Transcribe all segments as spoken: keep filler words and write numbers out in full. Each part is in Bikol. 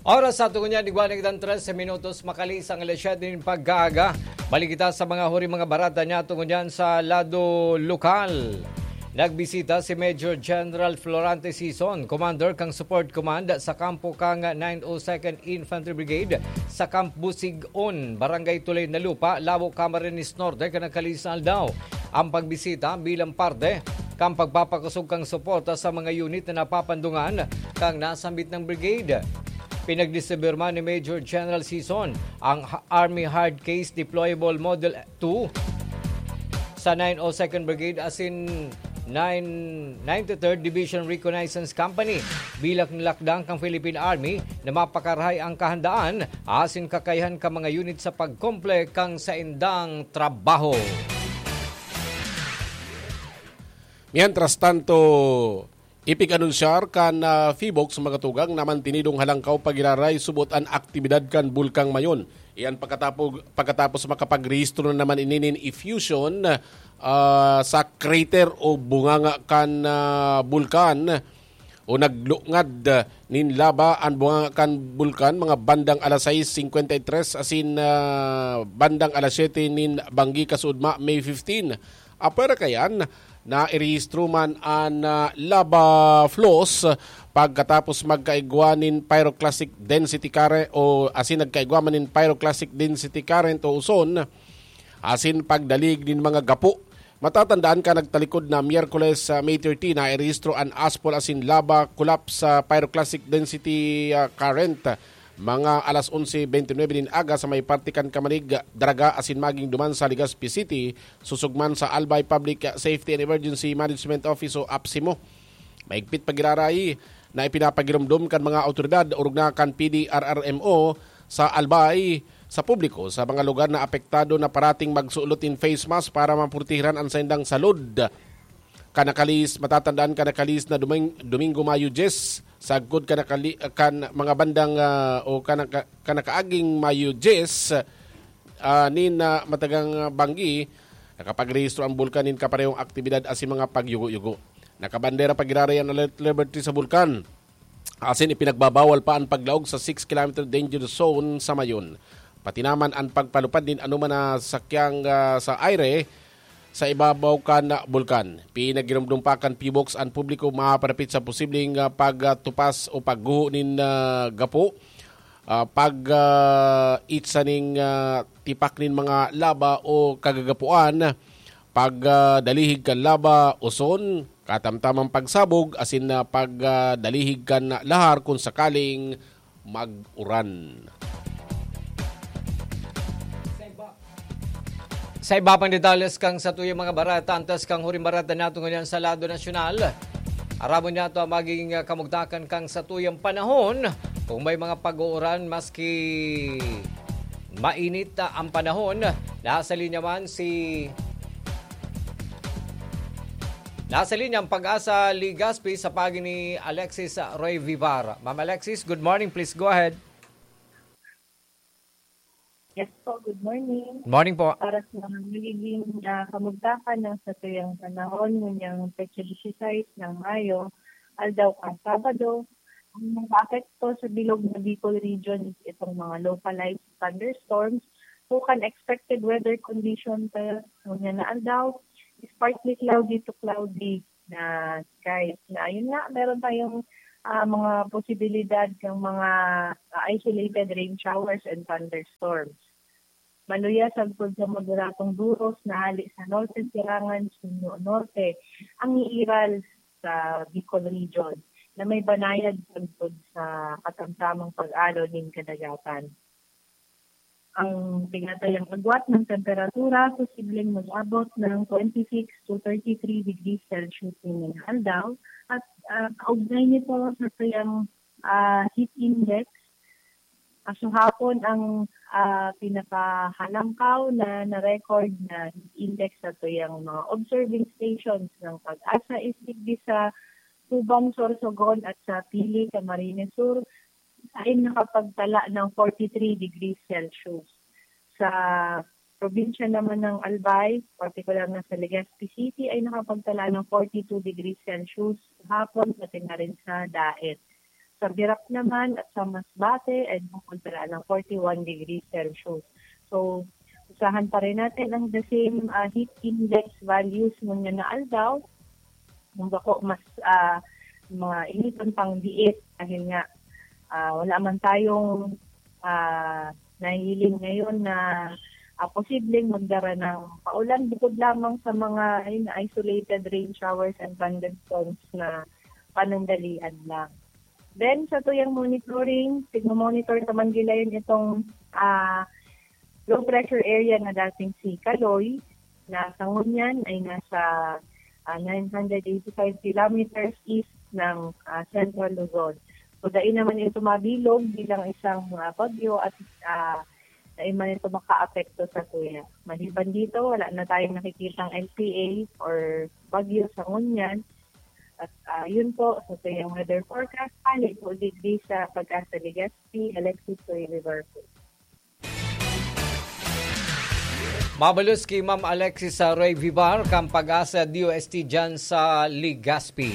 Oras sa tungo niyan, igwa na kitang trese minutos, makalisang alas siyete nin pagkaaga. Balik kita sa mga huri mga barata niya tungo niyan sa lado lokal. Nagbisita si Major General Florante Sison, commander kan Support Command sa kampo kan nine oh second Infantry Brigade sa Camp Busigon, Barangay Tulay na Lupa, Labu, Camarines Norte, kan nagkalisang aldaw. Ang pagbisita bilang parte kan pagpapakosog kan suporta sa mga unit na napapandungan kan nasambit na brigade. Pinagdistribuyar man ni Major General Sison ang Army Hard Case Deployable Model two sa nine oh second Brigade asin nine, ninety-third Division Reconnaissance Company bilang lakdang kan Philippine Army na mapakarahay ang kahandaan asin kakayahan kan mga unit sa pagkomple kan saindang trabaho. Mientras tanto, ipig-anunsyar kan, ah, PHIVOLCS mga tugang na mantinidong halangkaw pagiraray subot an aktibidad kan Bulkang Mayon. Iyan pagkatapos, pagkatapos makapagrehistro na naman ini nin effusion, ah, sa crater o bunganga kan, ah, bulkan o naglungad, ah, nin laba an bunganga kan bulkan mga bandang alas sais singkwenta y tres asin, ah, bandang alas siyete nin banggi kasuodma, May fifteen. Apwera kayan, nairehistro man an, ah, lava flows pagkatapos magkaigwa nin pyroclastic density current o asin nagkaigwa man nin pyroclastic density current o uson asin pagdalig nin mga gapo. Matatandaan ka nagtalikod na Miyerkules, ah, May thirteen, nairehistro an aspol asin lava collapse sa pyroclastic density, ah, current. Mga alas onse bente nuebe nin aga sa may parte kan Camarig, Daraga asin maging duman sa Legazpi City, susog man sa Albay Public Safety and Emergency Management Office o APSEMO. Maigpit pagiraray na ipinapagiromdom kan mga awtoridad orog na kan P D R R M O sa Albay sa publiko sa mga lugar na apektado na parating magsulot nin face mask para maprotehiran an saindang salud. Kan nakalihis, matatandaan kan nakalihis na Doming-, Domingo, Mayo dyes, sagkod kan nakali-, kan mga bandang, ah, o kan naka-, kan nakaaging Mayo dyes, ah, nin, ah, matagang, ah, banggi, nakapagrehistro ang bulkan nin kaparehong aktibidad asin mga pagyugo-yugo. Nakabandera pagiraray an alert level three sa bulkan. Asin ipinagbabawal pa an paglaog sa six kilometer danger zone sa Mayon. Pati naman an pagpalupad nin anoman na sakyang, ah, sa aire sa ibabaw kan bulkan. Pinagiromdom pa kan PHIVOLCS an publiko maparapit sa posibleng, ah, pagtupas o pagguho nin, ah, gapo, ah, pag, ah, itsa ning, ah, tipak nin mga laba o kagagapuan, pag, ah, dalihig kan laba, uson, katamtamang pagsabog asin, ah, pag, ah, dalihig kan lahar kun sakaling mag-uran. Sa iba pang detalles kan satuyang mga barata, antes kan huring barata nato ngunyan sa lado nasyonal, aramon nato ang magiging, ah, kamugtakan kan satuyang panahon. Kung may mga pag-uuran, maski mainit, ah, ang panahon, nasa linya man si Nasa linya ang Pag-asa Legazpi sa paagi ni Alexis Roy Vivar. Ma'am Alexis, good morning. Please go ahead. Yes po, good morning. Morning po. Para sa magiging, ah, kamugtakan ng satuyang panahon, nganyang petsa disisais ng Mayo, aldaw kan Sabado, ang mga apekto sa bilog na Bicol region is itong mga localized thunderstorms, tukan expected weather condition sa ngunyan na aldaw is partly cloudy to cloudy na skies. Na ayun nga, meron tayong, ah, mga posibilidad ng mga, ah, isolated rain showers and thunderstorms. Maluya sagkod sa moderadong duros na hali sa norte, silangan, Sugno Norte, ang iiral sa Bicol Region na may banayad sagkod sa katamtamang pag-alo nin kadagatan. Ang tinatayang agwat ng temperatura posibleng mag-abot ng twenty-six to thirty-three degrees Celsius ngayong aldaw at, ah, kaugnay nito sa tuyang, ah, heat index, kaso hapon ang, ah, pinakahalangkaw na na-record na heat index sa tuyang mga observing stations ng Pag-asa is digdi sa Tuban, Sorsogon at sa Pili, Camarines Sur, ay nakapagtala ng forty-three degrees Celsius. Sa probinsya naman ng Albay, partikular na sa Legazpi City, ay nakapagtala ng forty-two degrees Celsius hapon, pati na rin sa Daet. Sa Virac naman at sa Masbate ay bukod pala ng forty-one degrees Celsius. So, usahan pa rin natin ang the same ah, heat index values ngunyan na aldaw. Kung bako mas ah, mainiton pang diit dahil nga ah, wala man tayong ah, nahihiling ngayon na ah, posibleng magdara ng paulan bukod lamang sa mga ayun, isolated rain showers and thunderstorms na panandalian lang. Then sa tuyang monitoring, tigmo-monitor naman nila yun itong ah, low pressure area na dating si Kaloy, na sa ngunyan ay nasa ah, nine hundred eighty-five kilometers east ng ah, Central Luzon. So, dai naman ito mabilog bilang isang ah, bagyo at ah, dai man ito makaapekto sa tuya. Maliban dito, wala na tayong nakikitang L P A or bagyo sa ngunyan. At ah, yun po, sa tuyang weather forecast, pali po digdi sa Pag-asa Legazpi, Alexis Roy Liverpool. Mabalos ki Ma'am Alexis sa Ray Vivar kan Pag-asa D O S T dyan sa Legazpi.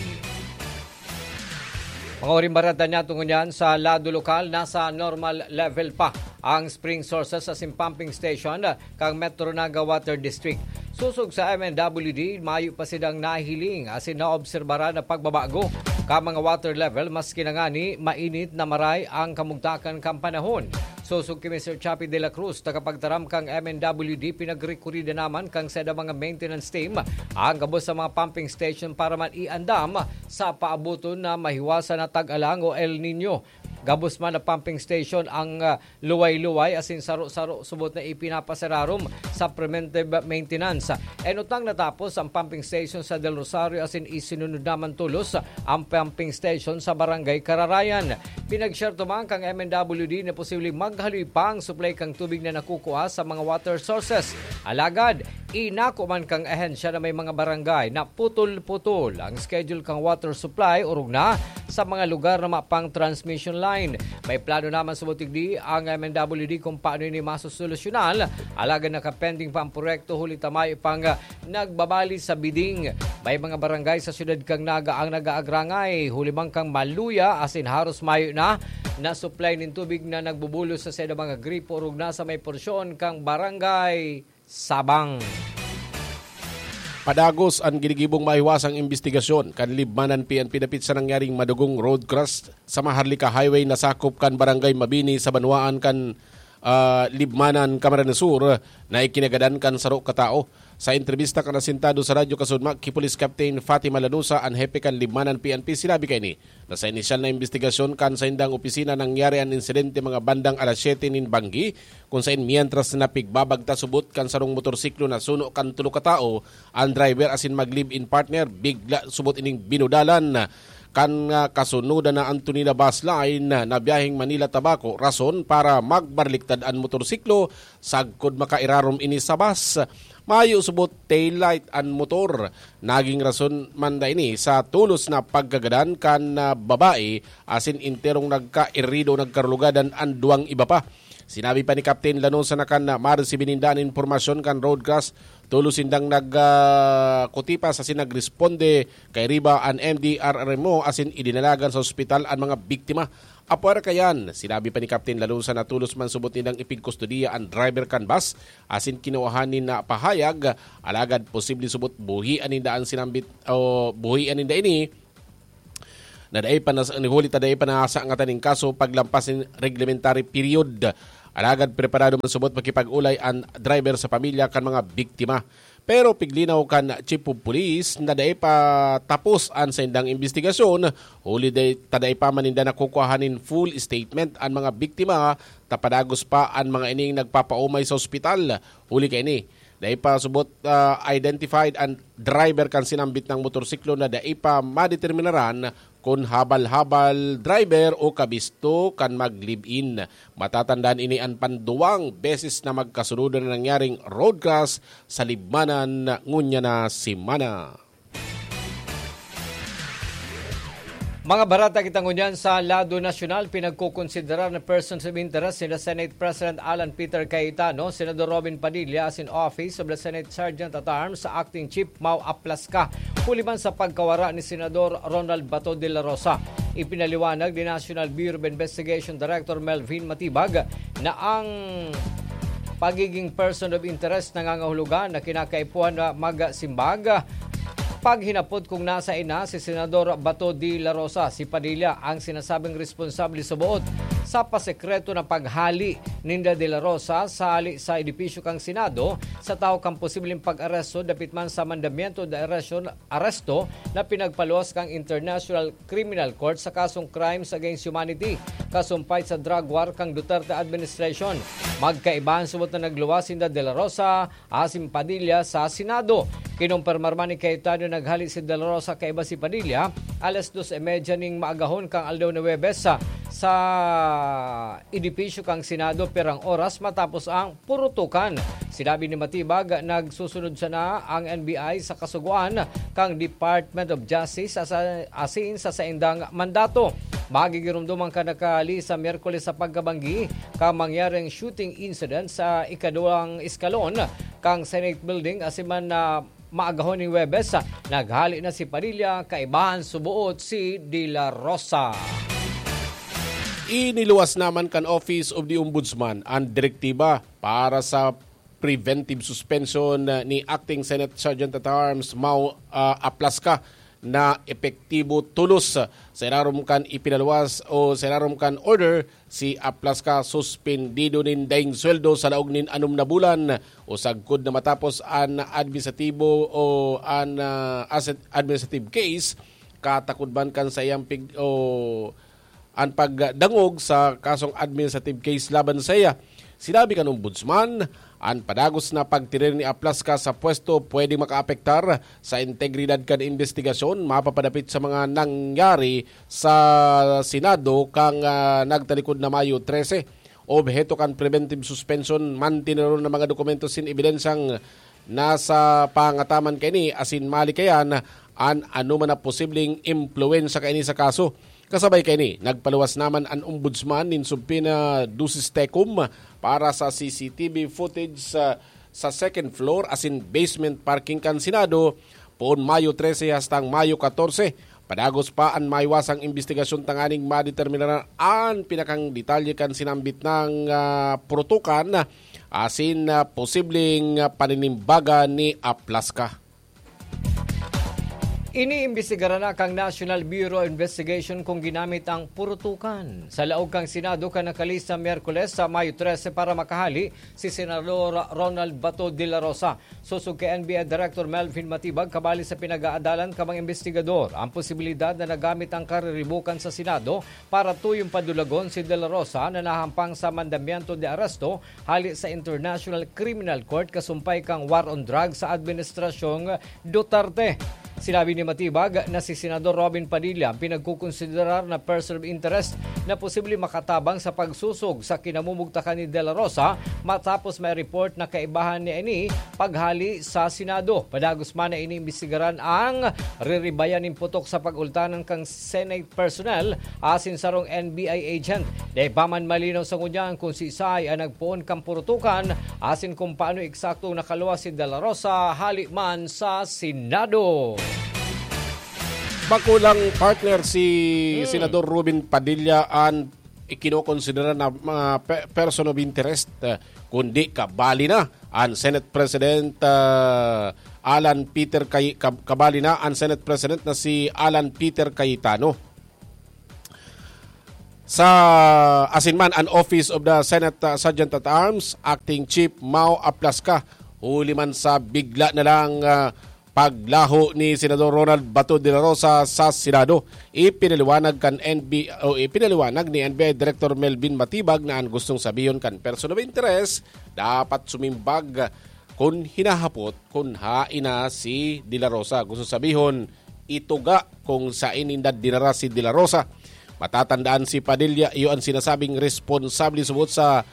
Mga oring barata niya tungo niyan sa lado lokal, nasa normal level pa ang spring sources asin pumping station kan Metro Naga Water District. Sosog sa M N W D, mayo pa sidang nahiling asin naobserbaran na pagbabago kan mga water level, maski na ngani mainit na maray ang kamugtakan kan panahon. Sosog ki Mister Chappie de la Cruz, tagapagtaram kan M N W D, pinagrekurida naman kan saida mga maintenance team ang gabos sa mga pumping station para man iandam sa paaboton na mahiwasan na tag-alang o El Nino. Gabos man na pumping station ang ah, luway-luway asin saro-saro subot na ipinapasararom sa preventive maintenance. Enot lang natapos ang pumping station sa Del Rosario asin isinunod naman tolos ang pumping station sa Barangay Kararayan. Pinag-share tuman kang M N W D na posibleng maghaloy pa ang supply kang tubig na nakukuha sa mga water sources. Alagad, inako man kang ahensya na may mga barangay na putol-putol ang schedule kang water supply orog na sa mga lugar na mapang transmission line. May plano naman sa butig di ang M N W D kung paano ini masosolusyonan. Alagad nakapending pa ang proyekto huli ta mayo pang nagbabali sa bidding. May mga barangay sa siyudad kang Naga ang nag-aagrangay huli man kang maluya asin haros mayo na na supply nin tubig na nagbubulos sa saida mga gripo orog na sa may porsyon kang barangay Sabang. Padagos an ginigibong mahiwasang imbestigasyon kan Libmanan P N P dapit sa nangyaring madugong road crash sa Maharlika Highway na sakop kan Barangay Mabini sa banwaan kan ah, Libmanan, Camarines Sur na ikinagadan kan saro ka tawo. Sa entrebista kan asintado sa Radyo Kasudma ki Police Captain Fatima Lanusa, an hepe kan Libmanan P N P, sinabi kaini na sa inisyal na imbestigasyon kan saindang opisina nangyari an insidente mga bandang alas siyete nin banggi, kun sain mientras na pigbabagta subot kan sarong motorsiklo na suno kan tulo ka tawo, an driver asin mag-live-in partner, bigla subot ining binudalan kan ah, kasunodan na Antonina Bus Line na biyaheng Manila-Tabaco, rason para magbaliktad an motorsiklo sagkod makairarom ini sa bus. Mayo subot taillight an motor. Naging rason man da ini sa tolos na pagkagadan kan ah, babae asin enterong nagkairido, nagkarugadan an duwang iba pa. Sinabi pa ni Captain Lanosa na kan ah, maresibi ninda an impormasyon kan road crash, tolos sindang nagkutipas asin nagresponde kairiba an M D R R M O asin idinalagan sa ospital an mga biktima. Apwera kayan, sinabi pa ni Captain Lanosa na tolos man subot nindang ipigkustodiya an driver kan bus asin kinuha nin ah, pahayag, alagad posible subot buhian ninda an sinambit o buhian ninda ini na dai pa nas-, ni huli ta dai pa nasangatan nin kaso paglampas nin reglementary period. Alagad preparado man subot makipag-olay an driver sa pamilya kan mga biktima. Pero piglinaw kan Chief of Police na dai pa tapos an saindang imbestigasyon, huli dai, ta dai pa man ninda nakukuha nin full statement an mga biktima, ta padagos pa an mga ining nagpapaumay sa ospital. Huli kaini, dai pa subot ah, identified an driver kan sinambit na motorsiklo na dai pa madeterminaran kun habal-habal driver o kabisto kan mag-live-in. Matatandaan ini an panduwang beses na magkasunod na nangyaring road crash sa Libmanan ngunyan na semana. Mga barata kita ngunyan sa lado nasyonal, pinagkukonsiderar na persons of interest nila Senate President Alan Peter Cayetano, Senador Robin Padilla asin Office of the Senate Sergeant at Arms sa Acting Chief Mau Aplasca, huli man sa pagkawara ni Senador Ronald Bato de la Rosa. Ipinaliwanag ni National Bureau of Investigation Director Melvin Matibag na ang pagiging person of interest nangangahulugan na kinakaipuhan na magsimbag paghinapot kung nasaan na si Senador Bato de la Rosa. Si Padilla ang sinasabing responsable sa buot sa pasekreto na paghali ninda de la Rosa sa hali sa edipisyo kan Senado sa tahaw kan posibleng pag-aresto dapit man sa mandamiento de aresto, aresto na pinagpaluwas kan International Criminal Court sa kasong crimes against humanity, kasumpay sa drug war kan Duterte administration. Magkaiba an subot na nagluwas sinda de la Rosa asin Padilla sa Senado. Kinumpirmar man ni Cayetano na naghali si de la Rosa kaiba si Padilla alas dos y media ning maagahon kan aldaw na Huwebes sa, sa edipisyo kan Senado, pirang oras matapos ang purutukan. Sinabi ni Matibag, nagsusunod sana ang N B I sa kasugoan kan Department of Justice asa-, asin sa saindang mandato. Magigiromdoman kan naghali sa Miyerkules sa pagkabanggi kan mangyaring shooting incident sa ikaduwang eskalon kan Senate Building asin man na maagahon ning Huwebes, naghali na si Padilla, kaiba an suboot si De La Rosa. Iniluwas naman kan Office of the Ombudsman an direktiba para sa preventive suspension ni Acting Senate Sergeant at Arms Mau ah, Aplasca na epektibo tolos sa irarom kan ipinaluwas o sa irarom kan order. Si Aplasca suspendido nin daing sweldo sa laog nin anom na bulan o sagkod na matapos an administratibo o an ah, asset administrative case katakod man kan saiyang pig o an pagdangog sa kasong administrative case laban saiya. Sinabi kan Ombudsman, an padagos na pagtirir ni Aplasca sa pwesto pwedeng makaapektar sa integridad kan imbestigasyon mapapadapit sa mga nangyari sa Senado kan ah, nagtalikod na Mayo trese. Obheto kan preventive suspension, mantineron na mga dokumento sin ebidensyang nasa pangataman kaini asin malikayan an anoman na posibleng impluwensya kaini sa kaso. Kasabay kaini, nagpaluwas naman an Ombudsman nin subpoena dusis tecum para sa C C T V footage sa, sa second floor asin basement parking kan Senado, poon Mayo trese hastang Mayo katorse. Padagos pa an maiwasang imbestigasyon tanganing madeterminaran an pinakang detalye kan sinambit nang ah, purutukan asin ah, posibleng ah, paninimbagan ni Aplasca. Iniimbestigaran na kan National Bureau of Investigation kung ginamit ang purutukan. Sa laog kan Senado kan nakalista Miyerkules sa Mayo trese para makahali si Senador Ronald Bato de la Rosa. Sosog kay N B I Director Melvin Matibag, kabali sa pinag-aadalan kan mga imbestigador ang posibilidad na nagamit ang kariribokan sa Senado para tuyong padulagon si De La Rosa na nahampang sa mandamiento de aresto hali sa International Criminal Court kasumpay kan war on drugs sa Administrasyong Duterte. Sinabi ni Matibag na si Senador Robin Padilla ang pinagkukonsiderar na person of interest na posibleng makatabang sa pagsusog sa kinamumugtakan ni De La Rosa matapos may report na kaibahan niya ini paghali sa Senado. Padagos man na iniimbestigaran ang riribayan nin putok sa pag-ultanan kan Senate personnel asin sarong N B I agent. Dai pa man malinaw sa ngunyan kung siisay ang nagpoon kan purutukan asin kung paano eksaktong nakaluwas si De La Rosa hali man sa Senado. Bako lang, partner, si Hmm. Senador Robin Padilla an ikinokonsidera na mga pe-, person of interest, eh, kundi kabali na an Senate President, ah, Alan Peter Cay-, kab-, kabali na an Senate President na si Alan Peter Cayetano. Sa asin man, an Office of the Senate, ah, Sergeant at Arms, Acting Chief Mao Aplasca, huli man sa bigla na lang, ah, paglaho ni Senador Ronald Bato de la Rosa sa Senado. Ipinaliwanag kan N B, o ipinaliwanag ni N B I Director Melvin Matibag na an gustong sabihon kan person of interest dapat sumimbag kun hinahapot kun hain na si De La Rosa. Gusto sabihon, ituga kung sain ninda dinara si De La Rosa. Matatandaan si Padilla, iyo ang sinasabing responsable subot sa,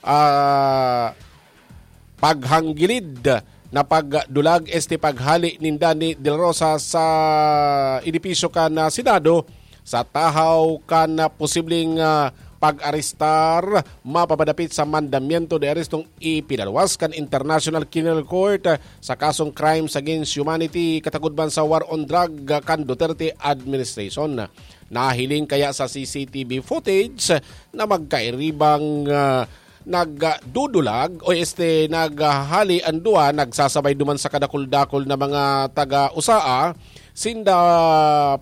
ah, paghanggilid na pagdulag este paghali ninda ni De La Rosa sa edipisyo kan, ah, Senado sa tahaw kan, ah, posibleng, ah, pag-arestar mapapadapit sa mandamiento de arestong ipinaluwas kan International Criminal Court, ah, sa kasong crimes against humanity katakod man sa war on drug, ah, kan Duterte administration. Nahiling kaya sa C C T V footage na magkairibang, ah, nagdudulag o este naghahali ang duwa, nagsasabay duman sa kadakul-dakul na mga taga-usaa, sinda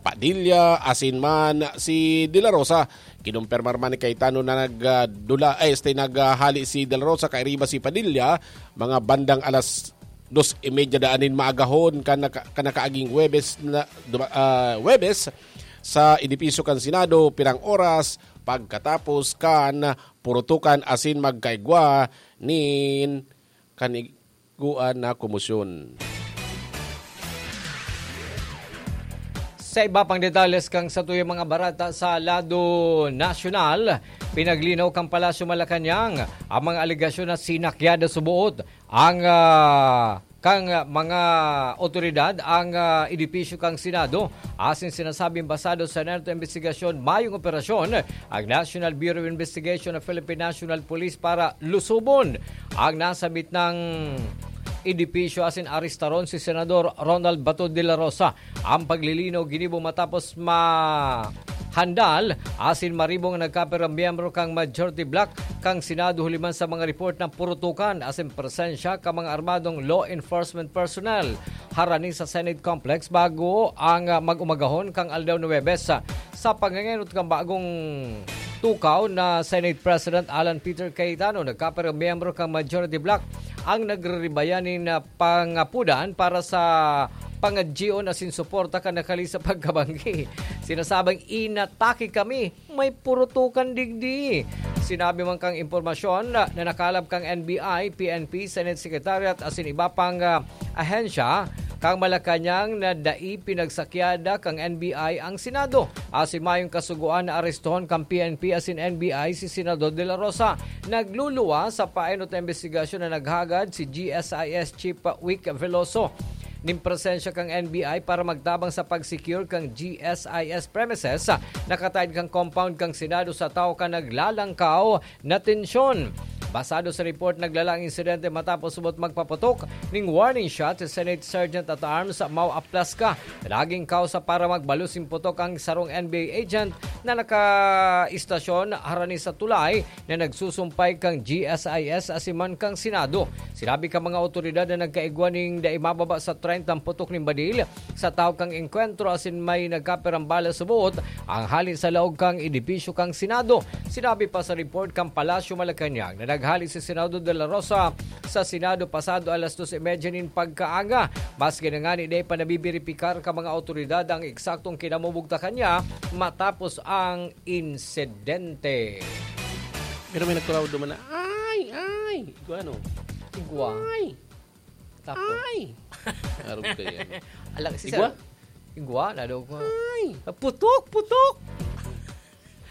Padilla asin man si De La Rosa. Kinumpirmar man ni Cayetano na nagdula, ay, este, naghahali si De La Rosa kairiba si Padilla, mga bandang alas dos y media daan nin maagahon kan naka-, kan nakaaging Huwebes na, duma-, ah, Huwebes sa edipisyo kan Senado, pirang oras pagkatapos kan purutukan asin magkaigwa nin kaniguan na komosyon. Sa iba pang detalles kan satuyang mga bareta sa lado nasyonal, pinaglinaw kan Palasyo Malacañang ang mga alegasyon na sinakyada suboot ang, ah, kan mga otoridad ang, ah, edipisyo kan Senado asin sinasabing basado sa narto imbestigasyon, mayong operasyon ang National Bureau of Investigation o Philippine National Police para lusubon ang nasabit na edipisyo asin arestaron si Senador Ronald Bato de la Rosa. Ang paglilinaw ginibo matapos mahandal asin maribong ang nagkapirang miyembro kan majority bloc kan Senado huli man sa mga report na purutukan asin presensya kan mga armadong law enforcement personnel harani sa Senate Complex bago ang, ah, mag-umagahon kan aldaw na Huwebes. Sa pagngangenot kan bagong tukaw na Senate President Alan Peter Cayetano, nagkapirang miyembro kan majority bloc ang nagriribayan nin, ah, pangapudan para sa pangadyion asin suporta kan nakali sa pagkabanggi. Sinasabing, "Inatake kami, may purutukan digdi." Sinabi man kan impormasyon na, na nakalap kan N B I, P N P, Senate Secretariat asin iba pang, ah, ahensya kan Malacañang na dai pinagsakyada kan N B I ang Senado. Asin mayong kasugoan na arestohon kan P N P asin N B I si Senador De La Rosa. Nagluluwas sa paenot na imbestigasyon na naghagad si G S I S Chief Wick Veloso nin presensya kan N B I para magtabang sa pag-secure kan G S I S premises, nakataed kan compound kan Senado sa tawo kan naglalangkaw na tensyon. Basado sa report, naglala ang insidente matapos subot magpaputok ning warning shot si Senate Sergeant at Arms Mau Aplasca. Naging kausa para magbalos nin putok ang sarong N B I agent na nakaistasyon harani sa tulay na nagsusumpay kan G S I S asin man kan Senado. Sinabi kan mga awtoridad na nagkaigwa nin dai mababa sa treyntang putok nin badil sa tahaw kan engkwentro asin may nagkapirang bala subot ang hali sa laog kan edipisyo kan Senado. Sinabi pa sa report kan Palasyo Malacañang na naghali si Senador De La Rosa sa Senado pasado alas dos y media nin pagkaaga. Maski na ngani dai pa nabibiripikar kan mga awtoridad ang eksaktong kinamubugtakan niya matapos ang insidente. Pero may nagkuraw duman na, "Ay, ay!" Igwa, ano? Igwa. Ay! Tapos? Ay! Arog kayo, ano? Alak, si Igwa? Sir. Igwa, lalo ko. Ay! Putok! Putok!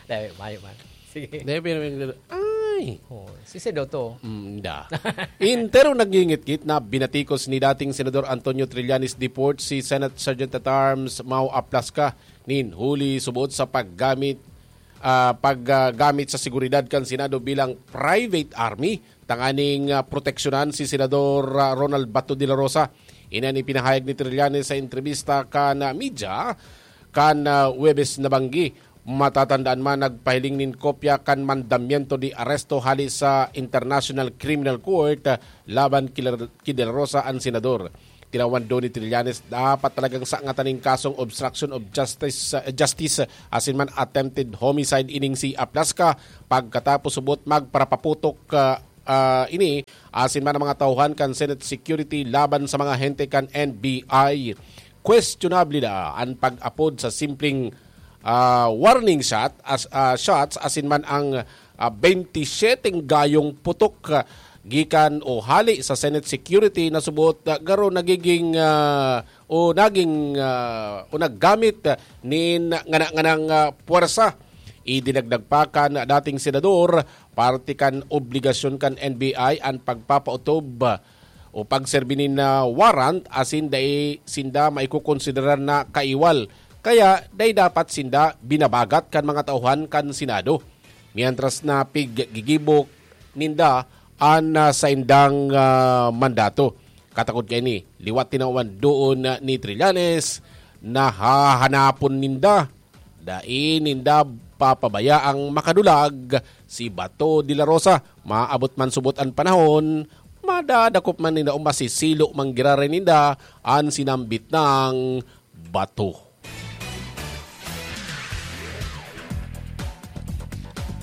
Dahil, mayo man. Sige. Dahil, pero may nagdado, "Ay!" Oh, si Sedo to. Mm, da. Entero nagngingitngit na binatikos ni dating Senador Antonio Trillanes Deport si Senate Sergeant at Arms Mau Aplasca nin huli subot sa paggamit, ah, paggamit sa seguridad kan Senado bilang private army tanganing, ah, proteksyonan si Senador, ah, Ronald Bato de la Rosa. Ini an ipinahayag ni Trillanes sa entrebista kan, ah, media kan, ah, Huwebes na banggi. Matatandaan man, nagpahiling nin kopya kan mandamiento de aresto hali sa International Criminal Court, ah, laban ki Lar-, ki De La Rosa an senador. Tinawan daw ni Trillanes dapat talagang sangatan nin kasong obstruction of justice, ah, justice, asin man attempted homicide ining si Aplasca pagkatapos subot magparapaputok, ah, ah, ini asin man ang mga tauhan kan Senate security laban sa mga hente kan N B I. Questionable na an pag-apod sa simpleng, ah, warning shot as, ah, shots asin man ang, ah, bente siyete gayong putok, ah, gikan o hali sa Senate security na subot, ah, garo nagiging, ah, o naging, ah, o naggamit, ah, nin ngana-nganang, ah, puwersa. Idinagdag pa kan dating senador, parte kan obligasyon kan N B I an pagpapautob, ah, o pagserbi nin, ah, warrant asin dai sinda maikokonsiderar na kaiwal. Kaya dai dapat sinda binabagat kan mga tauhan kan Senado, mientras na piggigibo ninda an, ah, saindang, ah, mandato. Katakod kaini, liwat tinawan doon, ah, ni Trillanes, nahahanapon ninda Dai ninda papabayaang makadulag si Bato de la Rosa. Maabot man subot an panahon, madadakop man ninda o masisilo man giraray ninda an sinambit nang bato.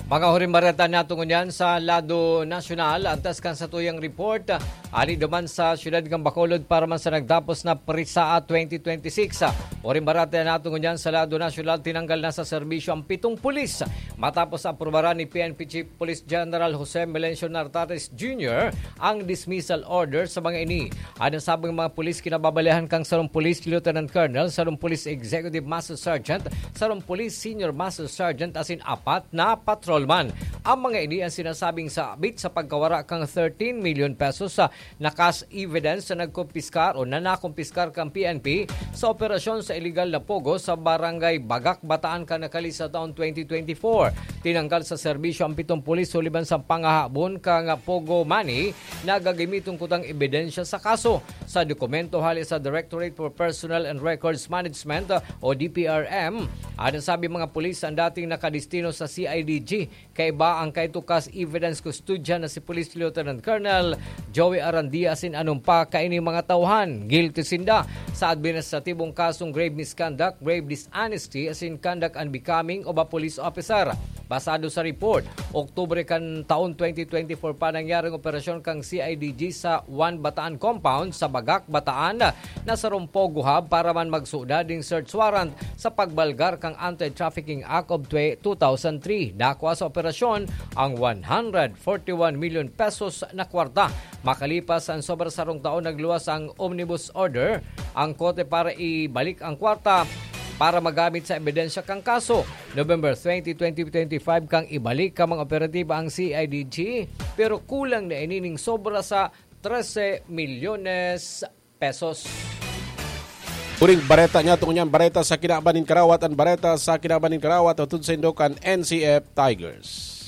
Mga huring bareta nato ngunyan sa lado nasyonal, antas kan satuyang report, ali duman sa siyudad kan Bacolod para man sa nagtapos na Prisaa twenty twenty-six. Huring bareta nato ngunyan sa lado nasyonal, tinanggal na sa serbisyo ang pitong pulis matapos aprubaran ni P N P Chief Police General Jose Melencio Nartates Junior ang dismissal order sa mga ini. An nasabing mga pulis kinababalehan kan sarong Police Lieutenant Colonel, sarong Police Executive Master Sergeant, sarong Police Senior Master Sergeant asin apat na patrolman. Ang mga ini an sinasabing sabit sa pagkawara kan thirteen million pesos sa na cash evidence na nagkumpiskar o na nakumpiskar kan P N P sa operasyon sa iligal na pogo sa Barangay Bagak, Bataan kan Nacali sa taon twenty twenty-four. Tinanggal sa serbisyo ang pitong pulis huli man sa pangahabon kan pogo money na gagamiton kutang ebidensya sa kaso. Sa dokumento hali sa Directorate for Personnel and Records Management o D P R M, an nasabing mga pulis an dating nakadestino sa C I D G. Kaiba ang kaito cash evidence custodian na si Police Lieutenant Colonel Joey Arandia asin anom pa kaining mga tauhan. Guilty sinda sa administratibong kasong grave misconduct, grave dishonesty asin conduct unbecoming of a police officer. Basado sa report, Oktubre kan taon twenty twenty-four pa nangyaring operasyon kan C I D G sa One Bataan Compound sa Bagak, Bataan, na sarong pogo hub para man magsuda ning search warrant sa pagbalgar kan Anti-Trafficking Act of twe-, two thousand three. Dakwa sa operasyon ang one hundred forty-one million pesos na kwarta. Makalipas ang sobra sarong taon, nagluwas ang omnibus order ang korte para ibalik ang kwarta para magamit sa ebidensya kan kaso. November twenty, twenty twenty-five kan ibalik kan mga operatiba ang C I D G, pero kulang na ini ning sobra sa trese milyones pesos. Huring bareta niya, tungod niyan, bareta sa kinaban nin karawat, an bareta sa kinaban nin karawat, hatod saindo kan N C F Tigers.